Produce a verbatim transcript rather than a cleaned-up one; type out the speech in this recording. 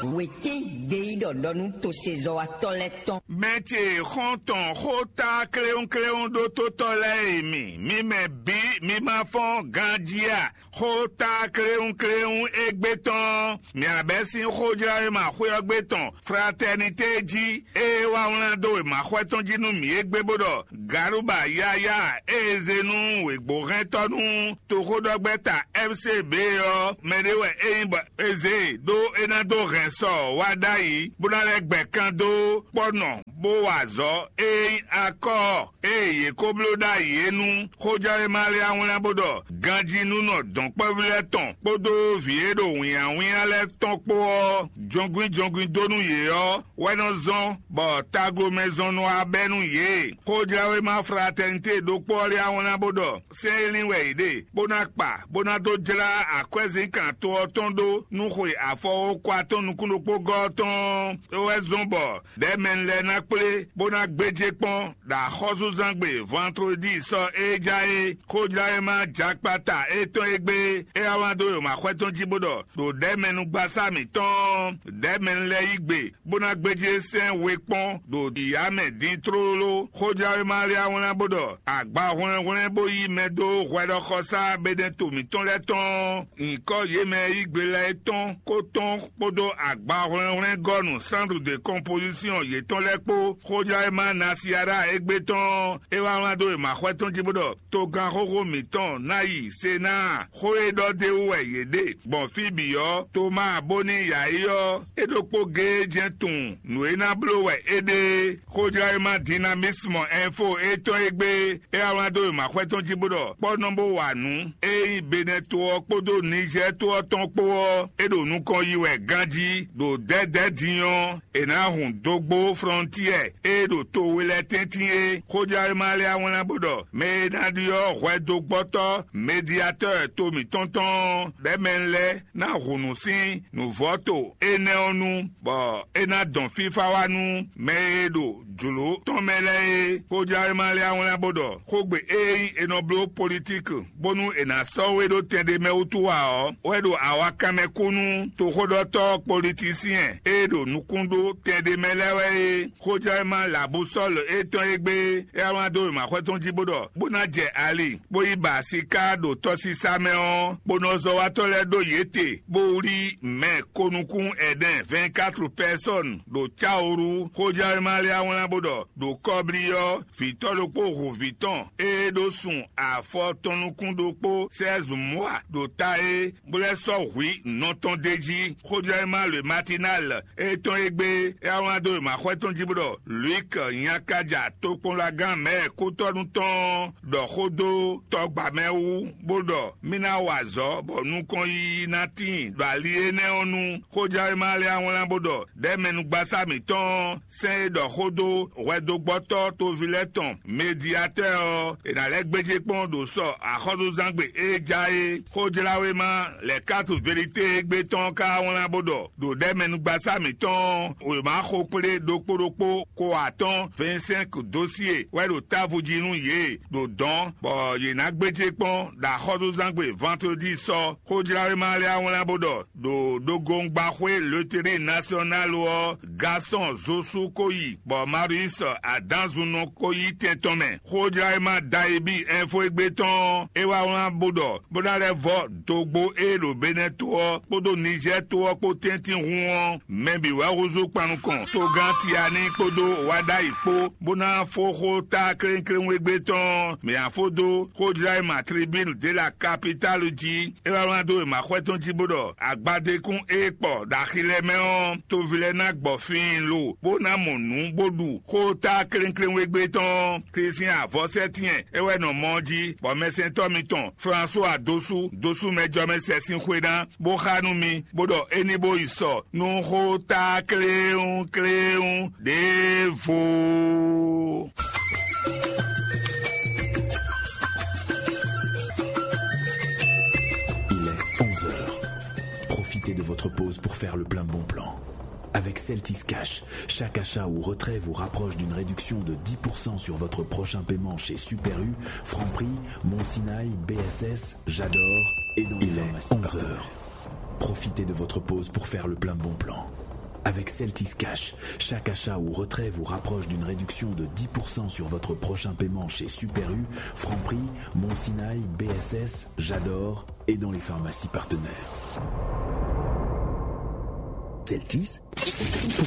Wětín gbeyíɖɔ ɖɔ nú tosezɔ́watɔ́ lɛ́ɛ tɔn. Mɛ ce xɔ́ntɔn xó tá kléwúnkléwún ɖótótɔ́ lɛ́ɛ e mi, mi mɛ bǐ mi ma fɔ́n ganjí a? Xó tá kléwúnkléwún égbé tɔn, mǐ abɛ́ sín xójláwéma xwé ɔ́ gbé tɔn Fratɛnité jí, ée wá wlán dó wěmaxɔ́ tɔn jí nú mǐ égbé bó ɖɔ Galuba yáyá e è zé nú wěgbóhɛntɔ́ nú toxóɖɔgbɛ́ta F C B ɔ́, mɛɖé wɛ é nyí bɔ è zě e ɖó é ná dó hɛn sɔ wá ɖ'ayǐ, bó ná lɛ́ gbɛ kan dó kpɔ́nɔ bó wa azɔ̌ e nyí akɔ́ ɔ́. Ée yě ko bló ɖ'ayǐ é nú xójɛ́wéma lɛ́ɛ wá wlán bó ɖɔ ganjínúnɔ dɔ̌nkpɛ́vú lɛ́ɛ tɔn kpódó vǐ e ɖo wǐnnyáwínnyá lɛ́ɛ tɔn kpó ɔ́, jɔngbín jɔngbín dó nú yě ɔ́ wɛ nɔ zɔ́n bɔ taglomɛzɔnnɔ wá bɛ́ nú yě. Xójɛ́wéma Fratɛnité ɖokpó ɔ́ lɛ́ɛ wá wlán bó ɖɔ sɛ́n e lin wɛ yě ɖe, bó ná kpa, bó ná dó jlá akwɛ́zínkán to ɔ́ tɔn ɖó nú xwe afɔwókwa tɔn nukún ɖokpó gɔ́ ɔ́ tɔn ɔ́, é wɛ zɔ́n bɔ ɖɛ̌mɛnu lɛ́ɛ ná kplé, bó ná gbéjé kpɔ́n ɖo axɔ́súzangbe vɔntlodí sɔ e ja é. Xójláwéma jakpata étɔn e gbé é wá wlán dó wěmaxɔ́ tɔn jí bó ɖɔ ɖo ɖɛ̌mɛnugbasá mǐtɔn ɔ́, ɖɛ̌mɛnu lɛ́ɛ yí gbe, bó ná gbéjé sɛ́n we kpɔ́n ɖo ɖiya mɛ din tlóló. Xójláwéma lɛ́ɛ wá wlán bó ɖɔ agbahwlɛ́nhwlɛ́n bó yí mɛ dó hwɛɖɔxɔsá Benɛto mǐtɔn lɛ́ɛ tɔn ɔ́, nyǐkɔ yě mɛ e yí gbe lɛ́ɛ é tɔn kó tɔn kpódó agbahwlɛ́nhwlɛ́ngɔ́nu Centre de Composition yětɔn lɛ́ɛ kpó. Xójláwéma Nasiara égbé tɔn ɔ́, é wá wlán dó wěmaxɔ́ tɔn jí bó ɖɔ togán xóxó mǐtɔn ná yi Senáa. Xó e ɖɔ d'é wú wɛ yě ɖe gbɔn fí bǐ ɔ́, Tomáa bó ní yǎyi ɔ́, é ɖokpó géé jɛ́n tunwun nǔ e ná bló wɛ é ɖe é. Xójláwéma Dinamisme Info étɔn e gbé é wá wlán dó wěmaxɔ́ tɔn jí bó ɖɔ kpɔ́ nɔ bó wa nǔ e nyí Benɛto ɔ́ kpódó Nizɛ́ɛ to ɔ́ tɔn kpó ɔ́, é ɖo nukɔn yi wɛ ganjí ɖo dɛ̌dɛ̌ din ɔ́, è nǎ hun dógbó flɔ́ntiɛ e ɖo to we lɛ́ɛ tɛ́ntin é. Xójɛ́wéma lɛ́ɛ wá wlán bó ɖɔ mɛ e ná ɖyɔ́ hwɛdógbɔ́tɔ́ Mediyatɔ́ɔ to mǐtɔn tɔn ɔ́, ɖɛ̌mɛnu lɛ́ɛ ná hun nǔ sín nǔvɔ́to énɛ́ ɔ́ nu, bɔ é ná dɔn fífá wá nú mɛ e ɖo jlǒ tɔn mɛ lɛ́ɛ é. Xójɛ́wéma lɛ́ɛ wá wlán bó ɖɔ xógbe e nyí è nɔ bló politíki bónú è nǎ sɔ́ we ɖó tɛn ɖé mɛ wútu ǎ ɔ́, wɛ ɖo awakanmɛ kú nú toxóɖɔtɔ́ politisiyɛn e ɖo nukún ɖó tɛn ɖé mɛ lɛ́ɛ wɛ é. Xójɛ́wéma Labusɔ́lu étɔn e gbé é wá wlán dó wěmaxɔ́ tɔn jí bó ɖɔ bó ná jɛ ali, bó yi ba siká ɖo tɔsisa mɛ ɔ́, bó nɔ zɔ́watɔ́ lɛ́ɛ ɖó yě te, bó wlí mɛ konukún ɛnɛ vɛ̌nkatru pɛsɔ́nu ɖo cáwuru. Xójɛ́wéma lɛ́ɛ wá wlán bó ɖɔ ɖo kɔ́blí ɔ́, vǐtɔ́ ɖokpó hu vǐ tɔn e ɖó sun afɔ tɔn nukún ɖokpó sɛ́zumɔ́a ɖo ta é, bó lɛ́ sɔ́ hwǐ nɔ tɔn d'é jí. Xójɛ́wéma Le Matinal étɔn e gbé é wá wlán dó wěmaxɔ́ tɔn jí bó ɖɔ Luík nyakaja tokpɔnlagán mɛ̌ kútɔ́nú tɔn ɔ́ ɖɔ xó dó tɔgba mɛ wú, bó ɖɔ mì ná wa azɔ̌ bɔ nukɔn yiyi ná tíin ɖo ali énɛ́ ɔ́ nu. Xójɛ́wéma lɛ́ɛ wá wlán bó ɖɔ ɖɛ̌mɛnugbasá mǐtɔn ɔ́, sɛ́n e ɖɔ xó dó hwɛdógbɔ́tɔ́ toví lɛ́ɛ tɔn Mediyatɛ́ɛ ɔ́, è nǎ lɛ́ gbéjé kpɔ́n ɖo sɔ axɔ́súzangbe e ja é. Xójláwéma Lɛ̌katu Velité e gbé tɔn ɔ́ ka wá wlán bó ɖɔ ɖo ɖɛ̌mɛnugbasá mǐtɔn ɔ́, wěma xokplé ɖokpó ɖokpó ko atɔ́ɔ́n vɛ̌nsɛ́nk dósié wɛ ɖo távo jí nú yě ɖo dɔ̌n, bɔ yě ná gbéjé kpɔ́n ɖo axɔ́súzangbe vɔntlodí sɔ. Xójláwéma lɛ́ɛ wá wlán bó ɖɔ ɖo ɖogongbáxwé Loterí Nasyɔnálu ɔ́, Gasɔn Zosú ko yi, bɔ Marius Adǎnzunɔ ko yí tɛn tɔn mɛ. Xójláwéma Dayibí Ɛnfo e gbé tɔn ɔ́, é wá wlán bó ɖɔ bó ná lɛ́ vɔ́ dogbo e ɖo Benɛ́ to ɔ́ kpódó Nizɛ́ɛ to ɔ́ kpó tɛ́ntin hun ɔ́, mɛ bǐ wɛ húzú kpan nukɔn togán Tianí kpódó Waɖayi kpó, bó ná fó xó ta klénklénwégbé tɔn ɔ́, mǐ ná fó dó xójlá e ma tribínu de la kapitálu jí. É wá wlán dó wěmaxɔ́ tɔn jí bó ɖɔ agbadékún e kpɔ ɖo axi lɛ́ɛ mɛ ɔ́, toví lɛ́ɛ ná gbɔ fiin lo, bó ná mɔ nǔ bó ɖu xó ta klénklénwégbé tɔn ɔ́. Klísin avɔsɛ́tɛ́n é wɛ nɔ mɔ ɔ́ jí, bɔ mɛsɛntɔ́ mitɔn Flasuwa dó sú dó sú mɛjɔmɛ sɛ́ sín xwé ná, bó xá nú mi, bó ɖɔ é ní bó yi sɔ nú xó ta kléwún kléwún ɖěvo. Il est onze heures. Profitez de votre pause pour faire le plein de bons plans. Avec Celtis Cash, chaque achat ou retrait vous rapproche d'une réduction de dix pour cent sur votre prochain paiement chez Super U, Franprix, Mon Sinaï, B S S, J'adore et dans les pharmacies partenaires. Profitez de votre pause pour faire le plein de bons plans. Avec Celtis Cash, chaque achat ou retrait vous rapproche d'une réduction de dix pour cent sur votre prochain paiement chez Super U, Franprix, Mon Sinaï, B S S, J'adore et dans les pharmacies partenaires. Celtis, c'est cent pour cent